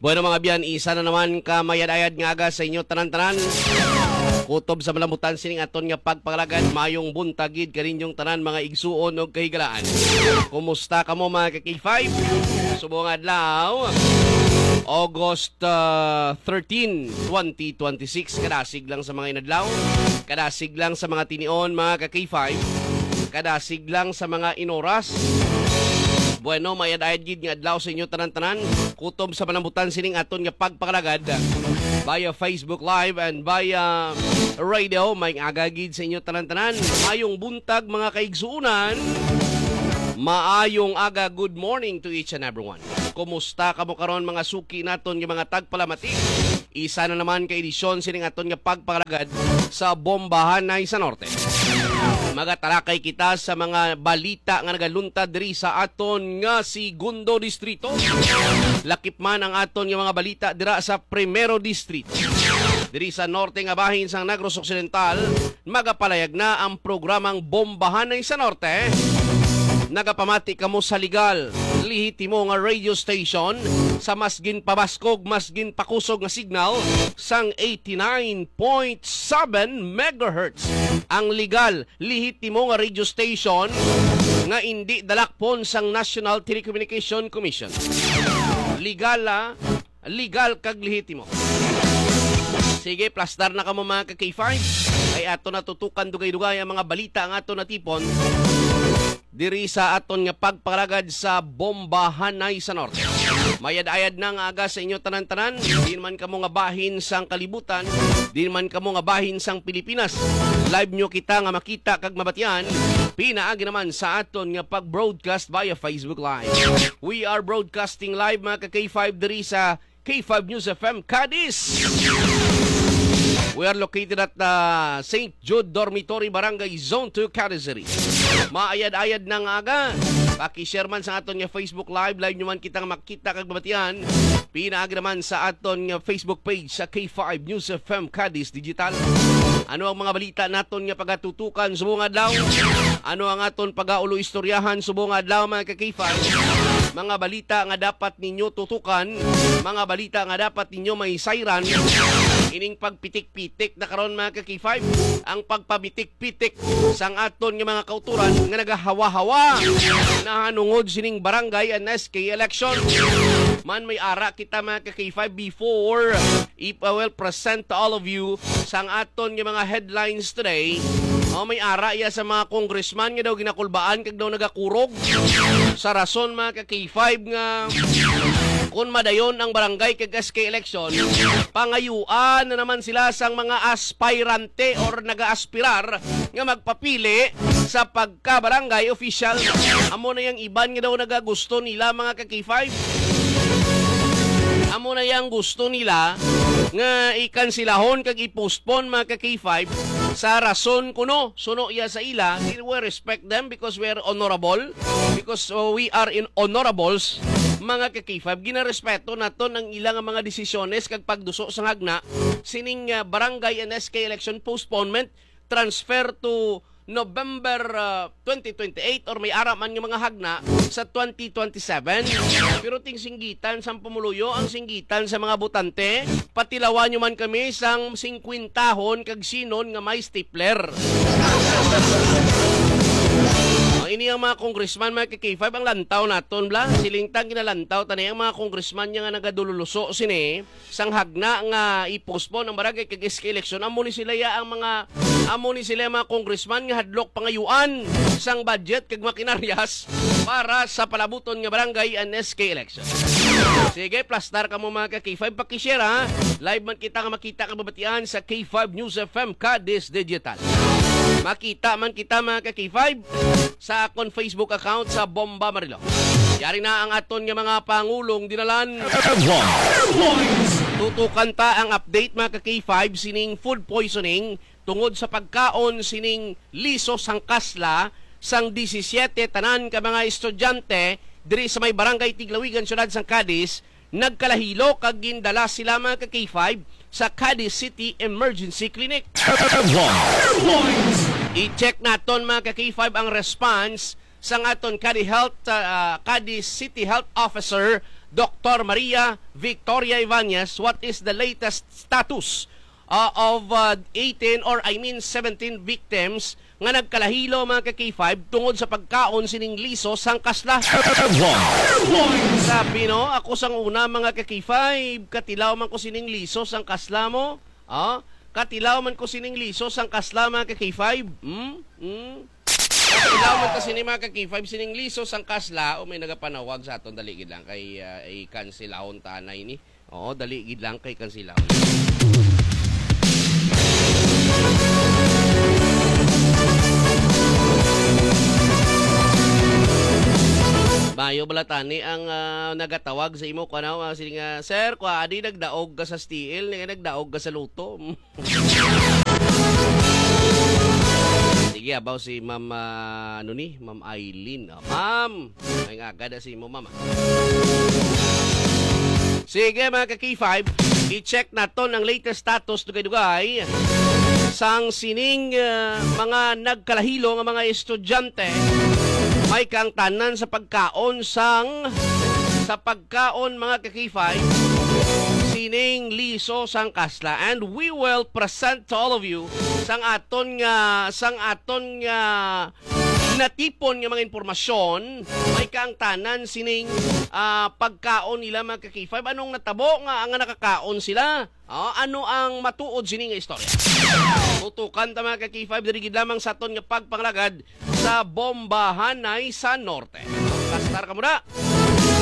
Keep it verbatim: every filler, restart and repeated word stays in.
Bueno, mga biyan, isa na naman ka mayad-ayad nga aga sa inyo tanan-tanan. Kutob sa malambutan sining aton nga pagpangalagad, mayong buntag gid kaninyong tanan, mga igsuon ug kahigalaan. Kumusta kamo, mga ka-K five? Subong adlaw, August, ah, thirteen, twenty twenty-six. Kadasig lang sa mga inadlaw, kadasig lang sa mga tinion, mga ka-K five, kadasig lang sa mga inoras. Bueno, mayad-ayad gid nga adlaw sa inyo tanan-tanan. Kutob sa malambutan sining aton nga pagpangalagad via Facebook Live and via radio, may aga gid sa inyo tanan-tanan. Mayong buntag, mga kaigsuunan. Maayong aga, good morning to each and everyone. Kumusta kamo karon, mga suki naton nga mga tagpalamati? Isa na naman ka edisyon sining aton nga pagpangalagad sa Bombahanay sa Norte. Magatalakay kita sa mga balita nga nagaluntad diri sa aton nga segundo distrito. Lakip man ang aton nga mga balita dira sa Primero Distrito. Diri sa norte nga bahin sang Negros Occidental, magapalayag na ang programang Bombahanay sa Norte. Nagapamati kamo sa legal, lehitimo nga radio station sa mas ginpabaskog, mas ginpakusog nga signal sang eighty-nine point seven megahertz. Ang legal, lehitimo nga radio station nga indi dalakpon sang National Telecommunication Commission. Legal, ah, legal kag lehitimo. Sige, plastar na kamo, mga ka-K five. Kay ato natutukan dugay-dugay ang mga balita nga ato natipon diri sa aton nga pagpangalagad sa Bombahanay sa Norte. Mayad-ayad na nga aga sa inyo tanan-tanan. Di man kamo nga bahin sang kalibutan, di man kamo nga bahin sang Pilipinas. Live nyo kita nga makita kag mabatian pinaagi naman sa aton nga pag-broadcast via Facebook Live. We are broadcasting live, mga ka-K five, diri sa K five News F M Cadiz. We are located at the Saint Jude Dormitory, Barangay Zone two, Cadiz City. Maayad-ayad na nga aga. Paki-share man sa aton nga Facebook Live. Live nyo man kita nga makita kag mabatian. Pinaagi naman sa aton nga Facebook page sa K five News F M Cadiz Digital. Ano ang mga balita naton nga pagatutukan subong adlaw? Ano ang aton pagaulo istoryahan subong adlaw, mga ka-K five? Mga balita nga dapat ninyo tutukan, mga balita nga dapat ninyo mahisayran. Ining pagpitik-pitik na karon, mga ka-K five, ang pagpapitik-pitik sang aton nga mga kauturan nga nagahawa-hawa nahanungod sining barangay and S K election. Man, may ara kita, mga ka-K five, before if I will present to all of you sang aton nga mga headlines today. Oh, may ara iya sa mga congressman nga daw ginakulbaan kag daw nagakurog sa rason, mga ka-K five, nga kun madayon ang barangay kag S K election, pangayuan na naman sila sang mga aspirante or nagaaspirar nga magpapili sa pagka-barangay official. Amo na yang iban nga daw nagagusto nila, mga ka-K five. Amo na yang gusto nila nga ikansilahon kag i-postpone, mga ka-K five, sa rason kuno, suno iya sa ila. We respect them because we are honorable, because, uh, we are in honorables, mga ka-K five. Ginarespeto naton ang ila nga mga desisyones kag pagduso sa hagna sining, uh, barangay and S K election postponement, transfer to November, uh, twenty twenty-eight, or may ara man nga mga hagna sa twenty twenty-seven. Pero ting singgitan sang pumuluyo, ang singgitan sa mga botante, patilawan nyo man kami sang singkwentahon kag sinon nga may stapler. Ang ini ang mga congressman, mga ka-K five, ang lantaw naton, bla. Siling ta, ginalantaw ta ni ang mga congressman niya nga nagadululuso sini sang hagna nga i-postpone ang barangay kag S K election. Amo ni sila ya ang mga, amo ni sila ang mga congressman nga hadlok pangayuan sang budget kag makinaryas para sa palabuton nga barangay and S K election. Sige, plastar kamo, mga ka-K five, paki-share, ha. Live man kita nga makita kag mabatian sa K five News F M Cadiz Digital. Makita man kita, mga ka-K five, sa akon Facebook account sa Bomba Marilao. Yari na ang aton nga mga pangulong dinalan. Tutukan ta ang update, mga ka-K five, sining food poisoning tungod sa pagkaon sining liso sang kasla sang disisiete tanan ka mga estudyante diri sa may Barangay Tiglawigan, Siyudad sang Cadiz, nagkalahilo kag gindala sila, mga ka-K five, sa Cadiz City Emergency Clinic. I-check naton, mga ka-K five, ang response sang aton Cadiz Health, ah, Cadiz City Health Officer Doktor Maria Victoria Ibanez, what is the latest status, uh, of, uh, eighteen, or I mean seventeen victims nga nagkalahilo, mga ka-K five, tungod sa pagkaon sining liso sang kasla? Sabi, no, ako sang una, mga ka-K five, katilaw man ko sining liso sang kasla mo. Ah, katilaw man ko sining liso sang kasla, mga ka-K five. Hmm? Hmm? Katilaw man ta sini, mga ka-K five, sining liso sang kasla. O, may nagapanawag sa aton, dali gid lang kay, ah, i-cancelahon ta na ini. Oo, dali gid lang kay cancelahon. Mayo bala tani ang, ah, nagatawag sa imo, kuan, ah, sini nga, "Sir, kwa, adi nagdaog ka sa S T L, nga nagdaog ka sa Lotto." Sige, abaw si Ma'am, ah, ano ni? Ma'am Eileen. Ah, ma'am, may nga agad si mo, ma'am, ah. Sige, mga ka-K five, i-check naton ang latest status, dugay-dugay, sang sining, ah, mga nagkalahilo nga mga estudyante. May kaangtanan sa pagkaon sang, sa pagkaon, mga ka-K five, sining liso sang kasla. And we will present to all of you sang aton nga, sang aton nga natipon nga mga impormasyon, may kaangtanan sining, ah, pagkaon nila, mga ka-K five. Anong natabo nga, nga nakakaon sila? Ah, ano ang matuod sini nga istorya? Tutukan ta, mga ka-K five, diri gid lamang sa aton nga pagpangalagad sa Bombahanay sa Norte. Kastar ka muna.